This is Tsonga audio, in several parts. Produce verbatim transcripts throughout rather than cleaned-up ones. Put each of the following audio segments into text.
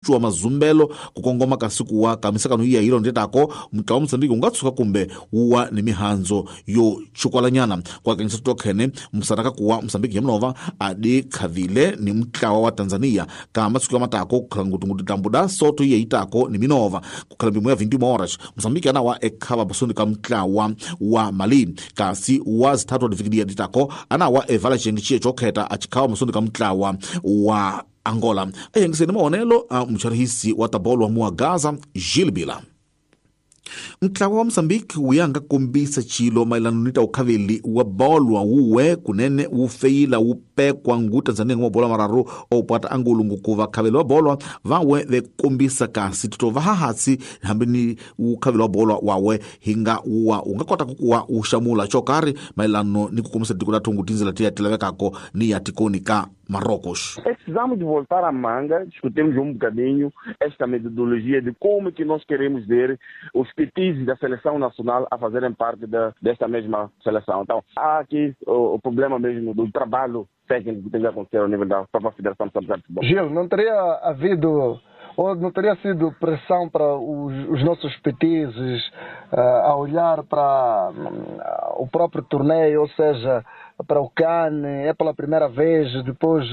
cinciwa mazumbelo ku kongoma kasi kuwa ka misakano iya yilo ndetako mutlawa wa Mozambique wu nga tshuka kumbe wuwa ni mihandzo yo chukwalanyana kwa kanyisa tokhene msaraka kuwa Mozambique yamnova adi khavile ni mutlawa wa Tanzania ka masiku ya matako kukhala ngutungutu tambuda soto iye itako ni minova kukhala mbimo ya vinte horas Mozambique anawa ekhava basoni ka mutlawa wa Mali kasi wa zithathu adifikidia ditako anawa evala chengi chiye chokheta achikhawa masoni ka mutlawa wa Angola. Ayengiseni maonelo a mcharihisi wa tabolo wa mua Gaza Gilles Bila. Mtlawa wa Mozambique wuyanga kombisa chilo maelano ni ta ukhaveli wa bolwa wuwe kunene wufeyila wupekwa ngu Tanzania ngwa bola mararu opata angulu ngukuva khaveli wa bolwa vawe vekombisa kasi titova hahatsi hambi ni ukhaveli wa bolwa wawe hinga uwa ungakota kukuwa ushamula chokari maelano ni kukombisa tiko la thungu tinzela tiya tilavekako ni ya tikoni ka Marrocos. Precisamos de voltar à manga, discutirmos um bocadinho esta metodologia de como que nós queremos ver os petizes da seleção nacional a fazerem parte da, desta mesma seleção. Então, há aqui o, o problema mesmo do trabalho técnico que tem que acontecer ao nível da própria Federação de Futebol. Gil, não teria havido ou não teria sido pressão para os, os nossos petizes uh, a olhar para uh, o próprio torneio, ou seja, para o CAN, é pela primeira vez, depois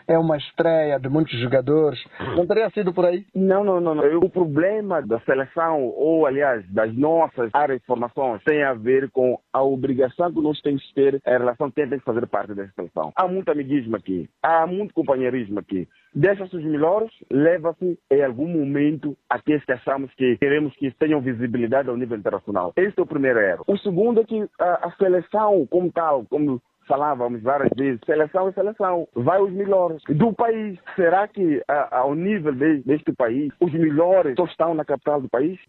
é uma estreia de muitos jogadores. Não teria sido por aí? Não, não, não, não. O problema da seleção, ou aliás, das nossas áreas de formações, tem a ver com a obrigação que nós temos de ter em relação a quem tem que fazer parte dessa seleção. Há muito amiguismo aqui, há muito companheirismo aqui. Deixa-se os melhores, leva-se em algum momento aqueles que achamos que queremos que tenham visibilidade ao nível internacional. Este é o primeiro erro. O segundo é que a, a seleção como tal, como falávamos várias vezes, seleção é seleção, vai os melhores do país. Será que a, ao nível de, deste país, os melhores só estão na capital do país?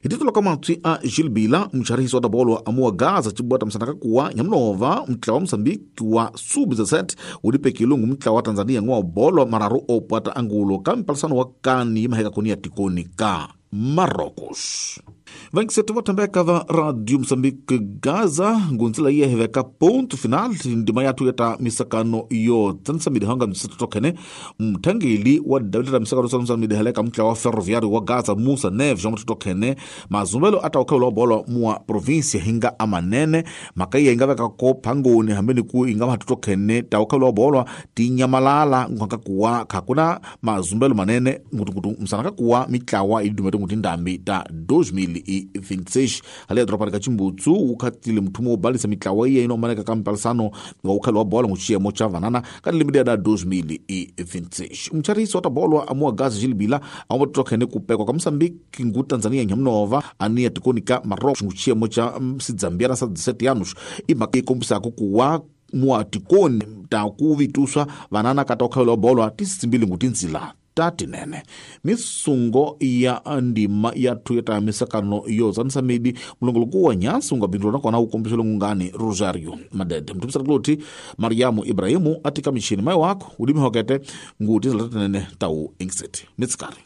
Hititulo kamatwi a Gilles Bila mcharihisi wa tabolo amuwa Gaza cibwata msanaka kuwa nyamnova mtlawa wa Mozambique wa sub dezessete ulipekile ngu mtlawa wa Tanzania ngwa bolo mararu opwata angulo ka mpalisano wa kani maheka koni tikoni ka Marrocos. Vankisetu vatambeka va Radio Mozambique Gaza ngunzila iye heveka ponto final ndima yathu yata misakano yo tsanisa midihanga msetu tokene mthangeli wa dawileta misakano tsanisa midihaleka mtla wa ferroviário wa Gaza Musa Neves jomo tokene mazumbelo ata ukhawula bolo mua província hinga amanene makaiya ingaveka ko phangoni hambeni ku inga mhathu tokene ta ukhawula bolo tinyamalala nganka kuwa khakuna mazumbelo manene ngutukutu msanaka kuwa mitlawa idumete ngutindambi ta dois mil e vinte e seis ali a tropa kachimbutsu ukhatile mthumo obalisa mitlawa iye inomaneka kampalisano wa ukhalo wa bola nguchiyemo cha vanana kati da dois mil e vinte e seis umcharisi wa bolwa amua Gaza Gilles Bila amotokhene kupekwa ka Mozambique ngu Tanzania nyamnova ania tikoni ka Marrocos nguchiyemo cha sidzambia na sa dezessete anos imaka ikombisako kuwa muatikoni ta kuvituswa vanana kata ukhalo wa bolwa tisitsimbili ngutinzila tatinene misungo ya ndima yathu ya misakano yo zanisa midi mulongoloku wa nyansi ungabindula nakona ukombiselo ngungani Rosario Madede mtumisarakuloti Mariamu Ibrahimu atika mishini mayi wako ulimi hokete nguti zila tatinene tau ingiseti mitsikari.